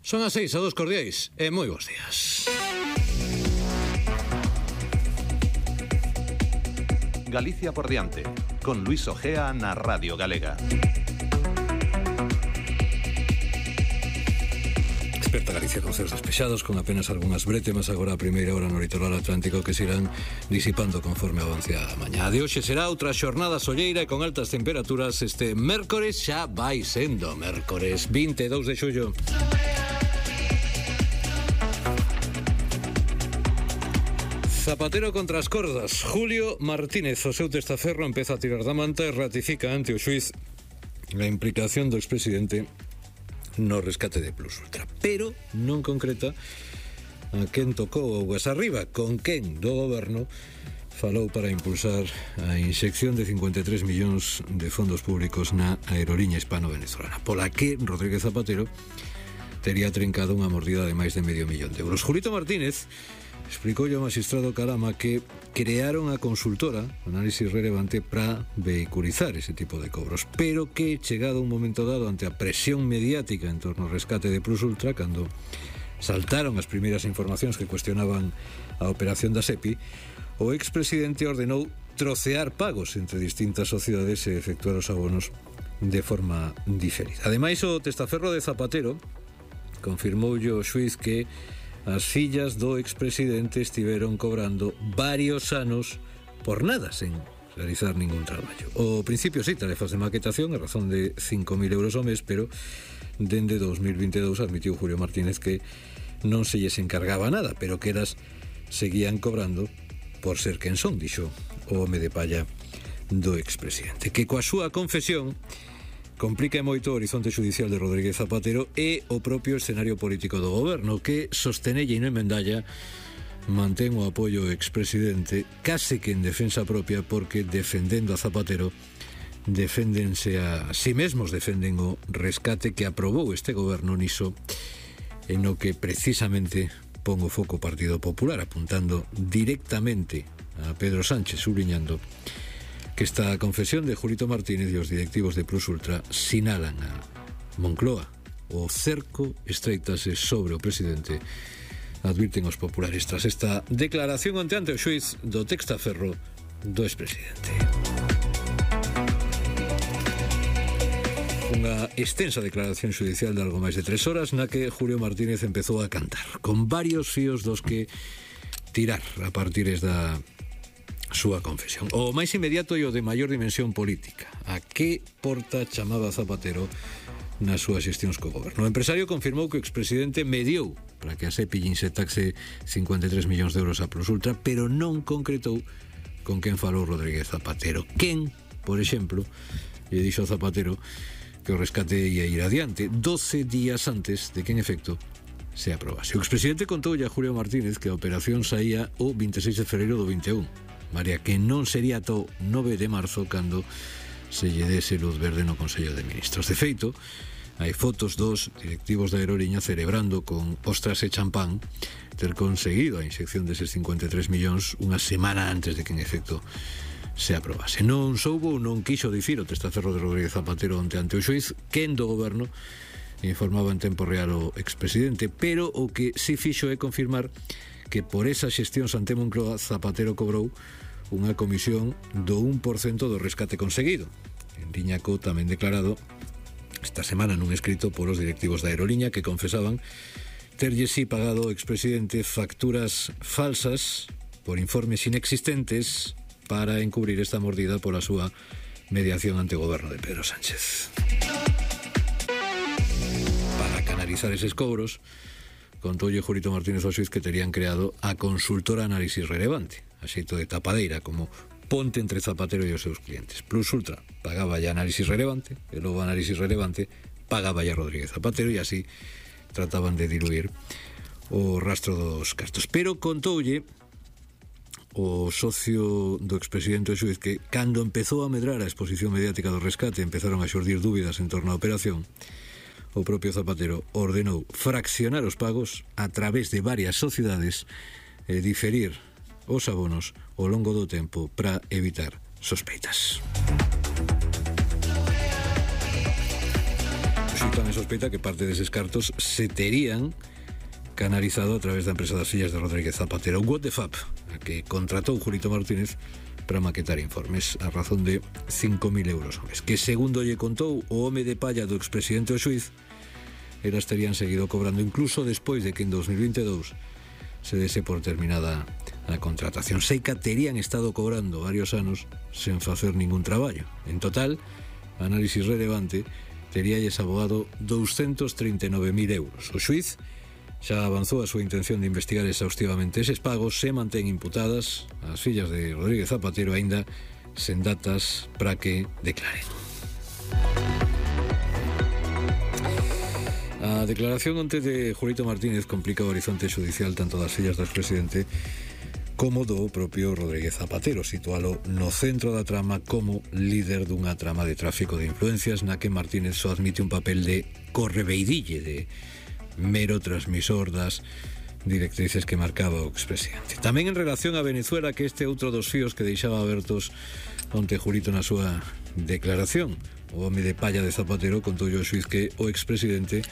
Son as 6, a dos cordiais e moi bons días. Galicia por diante, con Luis Ojea na Radio Galega. Desperta Galicia con ceos despexados, con apenas algunhas brétemas agora a primeira hora no litoral atlántico que se irán disipando conforme avance a mañá. De hoxe será outra xornada solleira e con altas temperaturas. Este mércores xa vai sendo mércores 22 de xullo. Zapatero contra as cordas. Julio Martínez, o seu testaferro, empeza a tirar da manta e ratifica ante o xuiz a implicación do expresidente no rescate de Plus Ultra, pero non concreta a quen tocou o arriba, con quen do goberno falou para impulsar a inxección de 53 millóns de fondos públicos na aeroliña hispano-venezolana, pola que Rodríguez Zapatero tería trincado unha mordida de máis de medio millón de euros. Julito Martínez explicou ao magistrado Calama que crearon a consultora Análisis Relevante para vehiculizar ese tipo de cobros, pero que, chegado un momento dado ante a presión mediática en torno ao rescate de Plus Ultra, cando saltaron as primeiras informacións que cuestionaban a operación da SEPI, o expresidente ordenou trocear pagos entre distintas sociedades e efectuar os abonos de forma diferida. Ademais, o testaferro de Zapatero confirmoulle ao xuiz que as fillas do expresidente estiveron cobrando varios anos por nada, sen realizar ningún traballo. O principio sí, tarefas de maquetación a razón de 5.000 euros ao mes, pero dende 2022 admitiu Julio Martínez que non se lles encargaba nada, pero que elas seguían cobrando por ser quen son, dixo o home de palla do expresidente, que coa súa confesión complica moito o horizonte judicial de Rodríguez Zapatero e o propio escenario político do goberno, que sostenelle e non emendalla mantén o apoio ao expresidente case que en defensa propia, porque defendendo a Zapatero deféndense a si mesmos, defenden o rescate que aprobou este goberno niso en o que precisamente pon o foco o Partido Popular, apuntando directamente a Pedro Sánchez, subliñando que esta confesión de Julito Martínez e os directivos de Plus Ultra sinalan a Moncloa. O cerco estreitase sobre o presidente, advirten os populares tras esta declaración ante o xuiz do testaferro do expresidente. Unha extensa declaración xudicial de algo máis de 3 horas na que Julio Martínez empezou a cantar, con varios fíos dos que tirar a partir da súa confesión. O máis inmediato e o de maior dimensión política. A que porta chamaba Zapatero nas súas xestións co goberno? O empresario confirmou que o expresidente mediou para que a SEPI inxectase 53 millóns de euros a Plus Ultra, pero non concretou con quen falou Rodríguez Zapatero. Quen, por exemplo, lle dixo Zapatero que o rescate ia ir adiante 12 días antes de que, en efecto, se aprobase. O expresidente contoulle a Julio Martínez que a operación saía o 26 de fevereiro do 21, María, que non sería to 9 de marzo cando se lle dese luz verde no Consello de Ministros. De feito, hai fotos dos directivos da aeroliña celebrando con ostras e champán ter conseguido a inxección deses 53 millóns unha semana antes de que en efecto se aprobase. Non soubo, non quixo dicir o testaferro de Rodríguez Zapatero ante o xuiz quen do goberno informaba en tempo real o expresidente, pero o que si fixo é confirmar que por esa xestión ante Moncloa Zapatero cobrou unha comisión do 1% do rescate conseguido, en liña co tamén declarado esta semana nun escrito polos directivos da aeroliña, que confesaban terlle si pagado o expresidente facturas falsas por informes inexistentes para encubrir esta mordida pola súa mediación ante o goberno de Pedro Sánchez. Para canalizar eses cobros, contoulle Julito Martínez ao xuiz que terían creado a consultora Análisis Relevante, a xeito de tapadeira, como ponte entre Zapatero e os seus clientes. Plus Ultra pagaba ya Análisis Relevante, e logo Análisis Relevante pagaba ya Rodríguez Zapatero, e así trataban de diluir o rastro dos cartos. Pero contoulle o socio do expresidente o xuiz que cando empezou a medrar a exposición mediática do rescate empezaron a xurdir dúbidas en torno á operación. O propio Zapatero ordenou fraccionar os pagos a través de varias sociedades e diferir os abonos ao longo do tempo para evitar sospeitas. tamén sospeita que parte deses cartos se terían canalizado a través da empresa das fillas de Rodríguez Zapatero, What the Fap, a que contratou Julito Martínez para maquetar informes a razón de 5.000 euros ao mes, que segundo lle contou o home de palla do expresidente o xuiz, elas terían seguido cobrando incluso despois de que en 2022 se dese por terminada a contratación. Seica terían estado cobrando varios anos sen facer ningún traballo. En total, análisis relevante, teríalles abogado 239.000 euros. O xuiz xa avanzou a súa intención de investigar exhaustivamente eses pagos, se mantén imputadas as fillas de Rodríguez Zapatero aínda sen datas para que declaren. A declaración onte de Julito Martínez complica o horizonte judicial tanto das fillas do expresidente como do propio Rodríguez Zapatero, situalo no centro da trama como líder dunha trama de tráfico de influencias na que Martínez só admite un papel de correveidille, de mero transmisor das directrices que marcaba o expresidente. Tamén en relación a Venezuela, que este outro dos fíos que deixaba abertos onte Julito na súa declaración. O home de palla de Zapatero contou ao xuiz que o expresidente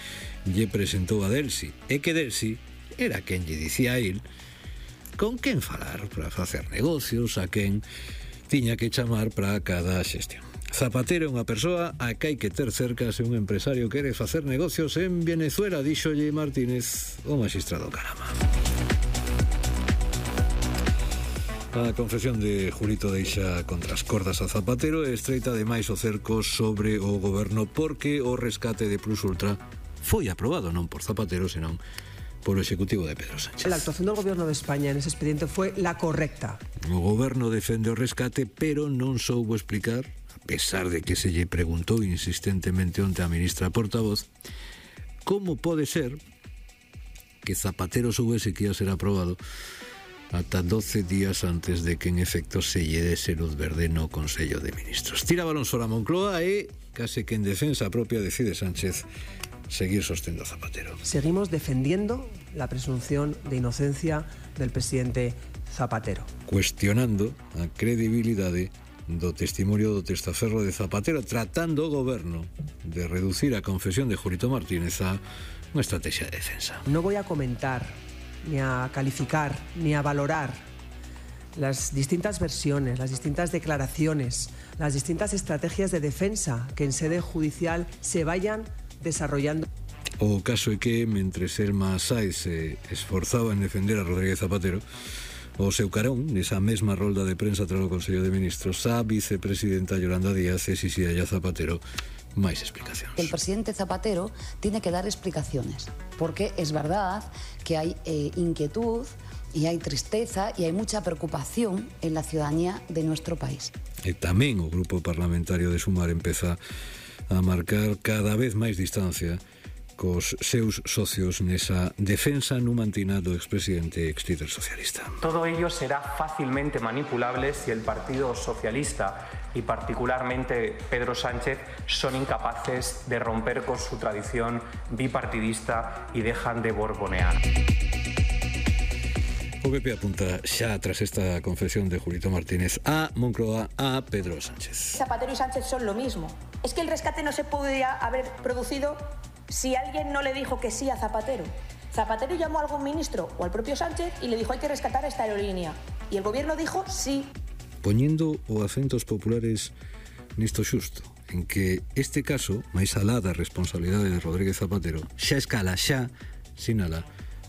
lle presentou a Delsi, e que Delsi era quen lle dicía a él con quen falar para facer negocios, a quen tiña que chamar para cada xestión. Zapatero é unha persoa a que hai que ter cerca se un empresario quere facer negocios en Venezuela, díxolle Martínez o magistrado Carama. A confesión de Julito deixa contra as cordas a Zapatero e estreita ademais o cerco sobre o goberno porque o rescate de Plus Ultra foi aprobado non por Zapatero, senón por o Executivo de Pedro Sánchez. La actuación del Gobierno de España en ese expediente fue la correcta. O goberno defende o rescate, pero non soubo explicar, a pesar de que se lle preguntou insistentemente onte a ministra portavoz, como pode ser que Zapatero soubese que ia ser aprobado ata 12 días antes de que en efecto se lle dese luz verde no Consello de Ministros. Tira balón sobre a Moncloa e case que en defensa propia decide Sánchez seguir sostendo a Zapatero. Seguimos defendiendo la presunción de inocencia del presidente Zapatero. Cuestionando a credibilidade do testimonio do testaferro de Zapatero, tratando o goberno de reducir a confesión de Julito Martínez a unha estrategia de defensa. No voy a comentar, ni a calificar, ni a valorar las distintas versiones, las distintas declaraciones, las distintas estrategias de defensa que en sede judicial se vayan desarrollando. O caso é que, mentres Elma Sáez se esforzaba en defender a Rodríguez Zapatero, o seu carón, nesa mesma rolda de prensa tras o Consello de Ministros, a vicepresidenta Yolanda Díaz exixía a Zapatero máis explicacións. El presidente Zapatero tiene que dar explicaciones, porque es verdad que hay inquietud y hay tristeza y hay mucha preocupación en la ciudadanía de nuestro país. E tamén o grupo parlamentario de Sumar empeza a marcar cada vez máis distancia cos seus socios nesa defensa numantina do expresidente ex-líder socialista. Todo ello será fácilmente manipulable si el Partido Socialista y particularmente Pedro Sánchez son incapaces de romper con su tradición bipartidista y dejan de borbonear. O PP apunta xa tras esta confesión de Julito Martínez a Moncloa, a Pedro Sánchez. Zapatero y Sánchez son lo mismo. Es que el rescate no se podría haber producido si alguien no le dijo que sí a Zapatero. Zapatero llamó a algún ministro o al propio Sánchez y le dijo hay que rescatar esta aerolínea. Y el gobierno dijo sí. Poñendo o acentos populares nisto xusto, en que este caso, máis alá da responsabilidade de Rodríguez Zapatero, xa escala, xa sinala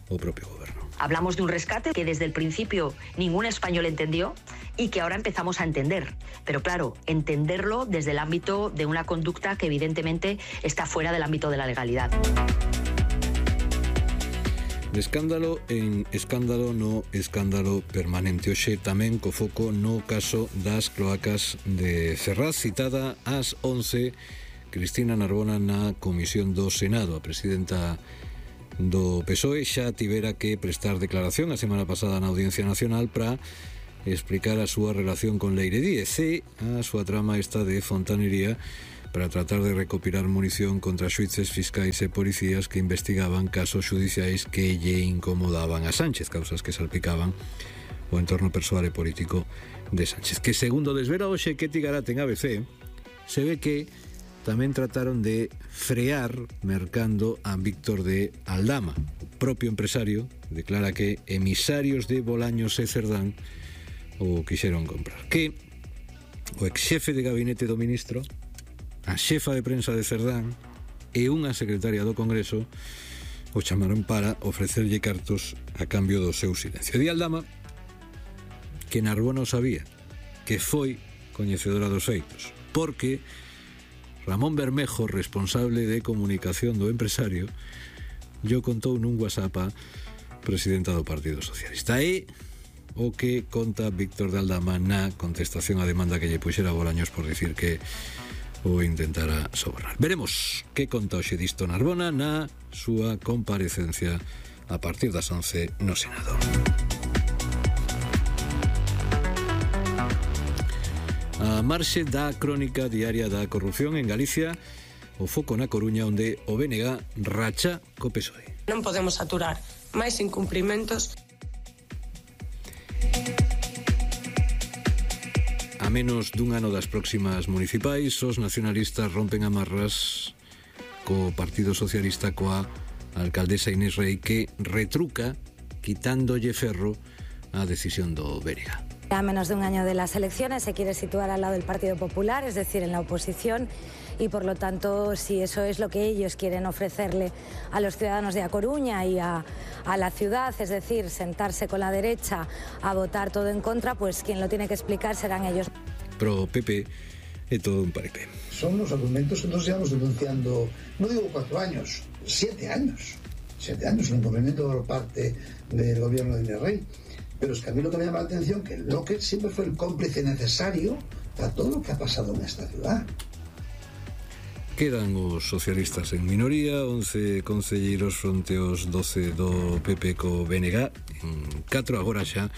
o propio goberno. Hablamos de un rescate que desde el principio ningún español entendió y que ahora empezamos a entender. Pero claro, entenderlo desde el ámbito de una conducta que evidentemente está fuera del ámbito de la legalidad. De escándalo en escándalo no escándalo permanente. Hoxe tamén co foco no caso das cloacas de Ferraz, citada ás 11, Cristina Narbona na Comisión do Senado. A presidenta do PSOE xa tivera que prestar declaración a semana pasada na Audiencia Nacional para explicar a súa relación con Leire Díez e a súa trama esta de fontanería para tratar de recopilar munición contra xuíces, fiscais e policías que investigaban casos xudiciais que lle incomodaban a Sánchez, causas que salpicaban o entorno persoal e político de Sánchez, que segundo desvela hoxe Ketty Garat en ABC, se ve que tamén trataron de frear mercando a Víctor de Aldama. O propio empresario declara que emisarios de Bolaños e Cerdán o quixeron comprar. Que o exxefe de gabinete do ministro, a xefa de prensa de Cerdán e unha secretaria do Congreso o chamaron para ofrecerlle cartos a cambio do seu silencio. Di Aldama que Narbona o sabía, que foi coñecedora dos feitos, porque Ramón Bermejo, responsable de comunicación do empresario, yo contou nun WhatsApp a presidenta do Partido Socialista. E o que conta Víctor de Aldama na contestación á demanda que lle puxera Bolaños por dicir que o intentara sobornar. Veremos que conta hoxe disto Narbona na súa comparecencia a partir das 11 no Senado. A marxe da crónica diaria da corrupción en Galicia, o foco na Coruña onde o BNG racha co PSOE. Non podemos aturar máis incumprimentos. A menos dun ano das próximas municipais, os nacionalistas rompen amarras co Partido Socialista coa alcaldesa Inés Rei, que retruca quitándolle ferro a decisión do BNG. A menos de un año de las elecciones se quiere situar al lado del Partido Popular, es decir, en la oposición, y por lo tanto, si eso es lo que ellos quieren ofrecerle a los ciudadanos de A Coruña y a la ciudad, es decir, sentarse con la derecha a votar todo en contra, pues quien lo tiene que explicar serán ellos. Pro PP é todo un paripé. Son los argumentos que nosotros llevamos denunciando, no digo 4 años, 7 años. 7 años, un incumplimiento por parte del gobierno de Inés Rei. Pero es que a mí lo que me llama la atención que el bloque siempre fue el cómplice necesario para todo lo que ha pasado en esta ciudad. Quedan os socialistas en minoría, 11 concelleiros fronte aos 12 do PP co BNG, en 4 agora xa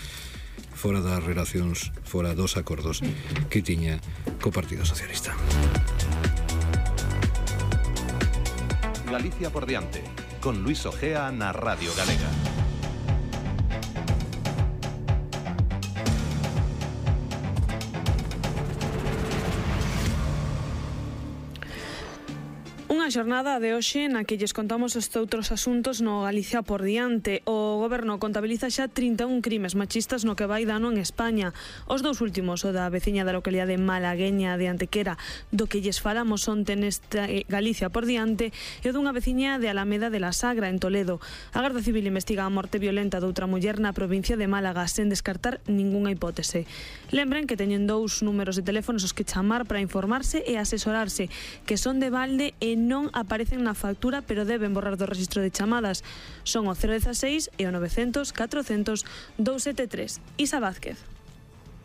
fora das relacións, fora dos acordos que tiña co Partido Socialista. Galicia por diante, con Luis Ojea na Radio Galega. Unha xornada de hoxe na que lles contamos estes outros asuntos no Galicia por diante. O goberno contabiliza xa 31 crimes machistas no que vai de ano en España. Os dous últimos, o da veciña da localidade malagueña de Antequera, do que lles falamos onte nesta Galicia por diante, e o dunha veciña de Alameda de la Sagra, en Toledo. A Garda Civil investiga a morte violenta doutra muller na provincia de Málaga, sen descartar ningunha hipótese. Lembren que teñen 2 números de teléfonos os que chamar para informarse e asesorarse, que son de balde e non aparecen na factura, pero deben borrar do registro de chamadas. Son o 016 e o 900 400 273. Isa Vázquez.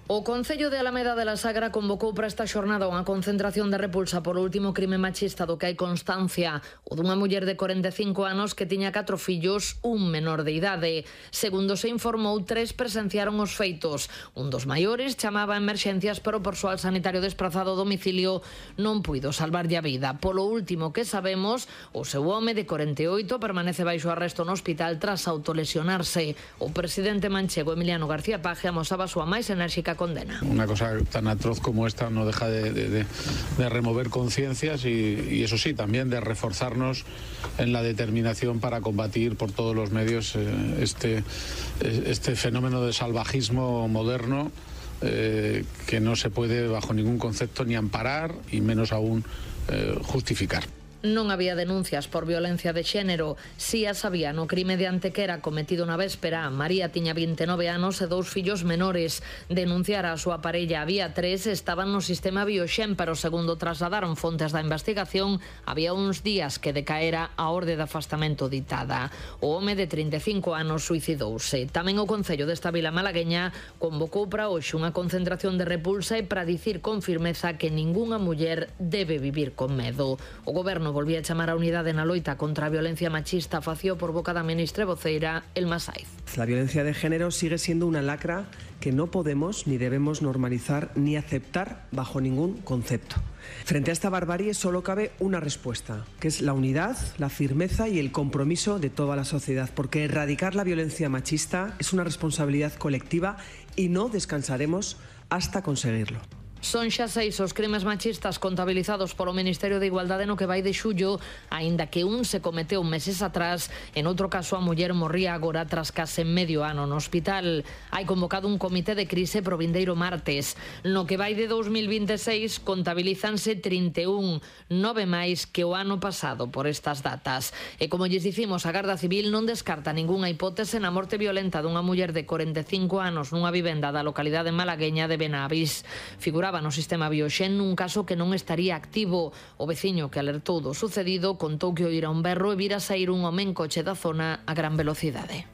O Concello de Alameda de la Sagra convocou para esta xornada unha concentración de repulsa por o último crime machista do que hai constancia, o dunha muller de 45 anos que tiña 4 fillos, un menor de idade. Segundo se informou, 3 presenciaron os feitos. Un dos maiores chamaba a emerxencias, pero o persoal sanitario desprazado ao domicilio non puido salvarlle a vida. Polo último que sabemos, o seu home de 48 permanece baixo arresto no hospital tras autolesionarse. O presidente manchego Emiliano García Paje amosaba a súa máis enérxica condena. Una cosa tan atroz como esta no deja de remover conciencias y eso sí, también de reforzarnos en la determinación para combatir por todos los medios este fenómeno de salvajismo moderno que no se puede bajo ningún concepto ni amparar y menos aún justificar. Non había denuncias por violencia de xénero. Si as había no crime de Antequera cometido na véspera. María tiña 29 anos e 2 fillos menores. Denunciar a súa parella había 3, estaban no sistema Bioxen, pero segundo trasladaron fontes da investigación, había uns días que decaera a orde de afastamento ditada. O home de 35 anos suicidouse. Tamén o Concello desta vila malagueña convocou para hoxe unha concentración de repulsa e para dicir con firmeza que ningunha muller debe vivir con medo. O goberno volvía a chamar a unidade na loita contra a violencia machista, fació por boca da ministra voceira Elma Saiz. La violencia de género sigue siendo una lacra que no podemos ni debemos normalizar ni aceptar bajo ningún concepto. Frente a esta barbarie solo cabe una respuesta, que es la unidad, la firmeza y el compromiso de toda la sociedad, porque erradicar la violencia machista es una responsabilidad colectiva y no descansaremos hasta conseguirlo. Son xa 6 os crimes machistas contabilizados polo Ministerio de Igualdade no que vai de xullo, aínda que un se cometeu meses atrás. En outro caso, a muller morría agora tras case medio ano no hospital. Hai convocado un comité de crise pro vindeiro martes. No que vai de 2026 contabilízanse 31, 9 máis que o ano pasado por estas datas. E como lles dicimos, a Garda Civil non descarta ningunha hipótese na morte violenta dunha muller de 45 anos nunha vivenda da localidade malagueña de Benavis. Figuraba no sistema Bioxen nun caso que non estaría activo. O veciño que alertou do sucedido contou que oíra un berro e vira saír un home en coche da zona a gran velocidade.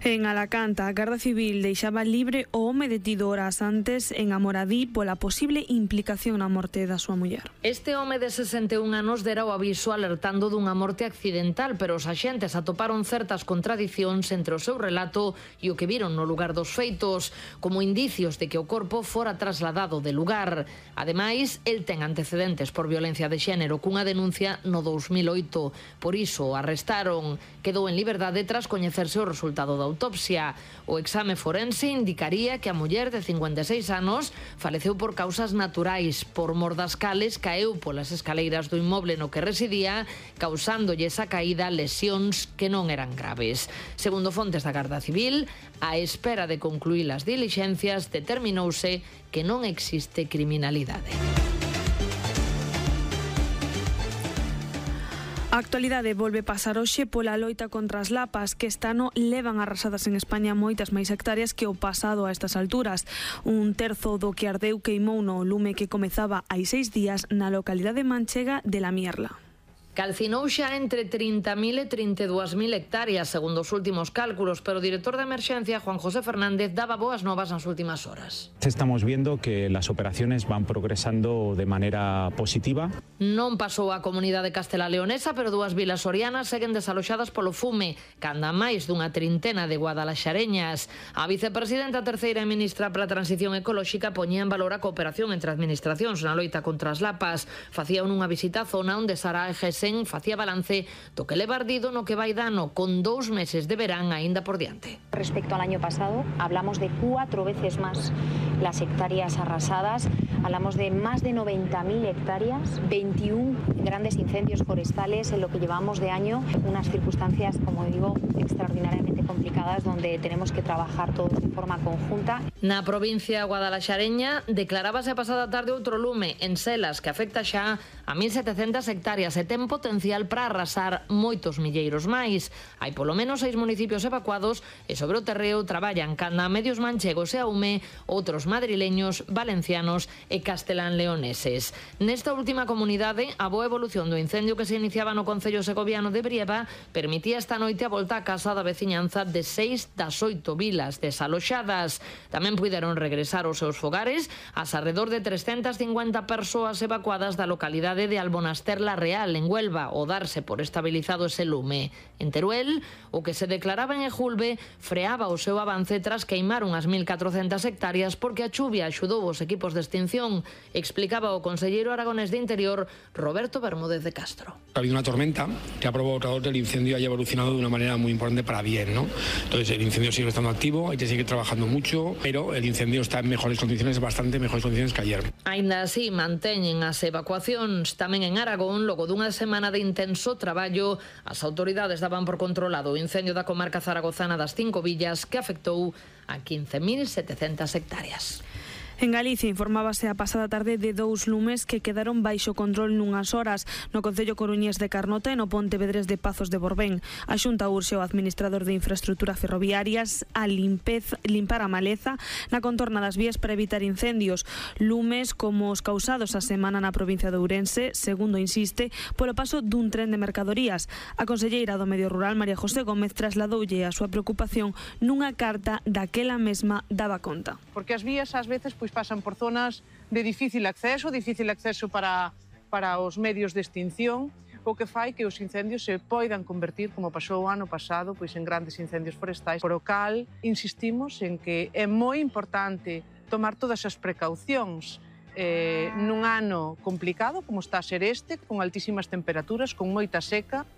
En Alacant, a Garda Civil deixaba libre o home detido horas antes en Amoradí pola posible implicación na morte da súa muller. Este home de 61 anos dera o aviso alertando dunha morte accidental, pero os axentes atoparon certas contradicións entre o seu relato e o que viron no lugar dos feitos, como indicios de que o corpo fora trasladado de lugar. Ademais, el ten antecedentes por violencia de xénero cunha denuncia no 2008. Por iso o arrestaron. Quedou en liberdade tras coñecerse o resultado da autopsia. O exame forense indicaría que a muller de 56 anos faleceu por causas naturais. Por mor das cales caeu polas escaleiras do inmoble no que residía, causándolle esa caída lesións que non eran graves. Segundo fontes da Garda Civil, a espera de concluir as dilixencias, determinouse que non existe criminalidade. A actualidade volve pasar hoxe pola loita contra as lapas que este ano levan arrasadas en España moitas máis hectáreas que o pasado a estas alturas. Un terzo do que ardeu queimou no lume que comezaba hai 6 días na localidade manchega de La Mierla. Calcinou xa entre 30.000 e 32.000 hectáreas, segundo os últimos cálculos, pero o director de emerxencia, Juan José Fernández, daba boas novas nas últimas horas. Estamos viendo que las operaciones van progresando de manera positiva. Non pasou a comunidade castelá-leonesa, pero dúas vilas sorianas seguen desaloxadas polo fume, canda máis dunha trintena de guadalaxareñas. A vicepresidenta terceira e ministra para a transición ecolóxica poñía en valor a cooperación entre administracións na loita contra as lapas. Facía unha visita á zona onde Sara Egesen facía balance do que leva ardido no que vai dano, con 2 meses de verán aínda por diante. Respecto al año pasado, hablamos de 4 veces más las hectáreas arrasadas, hablamos de más de 90.000 hectáreas, 21 grandes incendios forestales en lo que llevamos de año, unas circunstancias, como digo, extraordinariamente complicadas donde tenemos que trabajar todos de forma conjunta. Na provincia guadalaxareña declarábase a pasada tarde outro lume en Selas que afecta xa a 1.700 hectáreas e ten potencial para arrasar moitos milleiros máis. Hai polo menos 6 municipios evacuados e sobre o terreo traballan canda medios manchegos e a UME, outros madrileños, valencianos e castelán-leoneses. Nesta última comunidade, a boa evolución do incendio que se iniciaba no concello segoviano de Brieva permitía esta noite a volta a casa da veciñanza de 6 das 8 vilas desaloxadas. Tamén puideron regresar aos seus fogares as arredor de 350 persoas evacuadas da localidade de Albonaster la Real, en Huelva, o darse por estabilizado ese lume. En Teruel, o que se declaraba en Ejulbe freaba o seu avance tras queimar unhas 1.400 hectáreas porque a chuvia axudou os equipos de extinción, explicaba o conselleiro aragonés de Interior, Roberto Bermúdez de Castro. Ha habido una tormenta que ha provocado que el incendio haya evolucionado de una manera muy importante para bien, ¿no? Entonces el incendio sigue estando activo, hay que seguir trabajando mucho, pero el incendio está en mejores condiciones, bastante mejores condiciones que ayer. Aínda así, manteñen as evacuacións tamén en Aragón. Logo dunha semana de intenso traballo, as autoridades daban por controlado o incendio da comarca zaragozana das 5 villas que afectou a 15.700 hectáreas. En Galicia informábase a pasada tarde de 2 lumes que quedaron baixo control nunhas horas no concello coruñés de Carnota e no Pontevedrés de Pazos de Borbén. A Xunta urxe ao administrador de infraestructura ferroviarias a limpar a maleza na contorna das vías para evitar incendios. Lumes como os causados a semana na provincia de Ourense, segundo insiste, polo paso dun tren de mercadorías. A conselleira do Medio Rural, María José Gómez, trasladoulle a súa preocupación nunha carta daquela mesma daba conta. Porque as vías ás veces pasan por zonas de difícil acceso para os medios de extinción, o que fai que os incendios se poidan convertir, como pasou o ano pasado, en grandes incendios forestais. Por o cal, insistimos en que é moi importante tomar todas as precaucións nun ano complicado, como está a ser este, con altísimas temperaturas, con moita seca.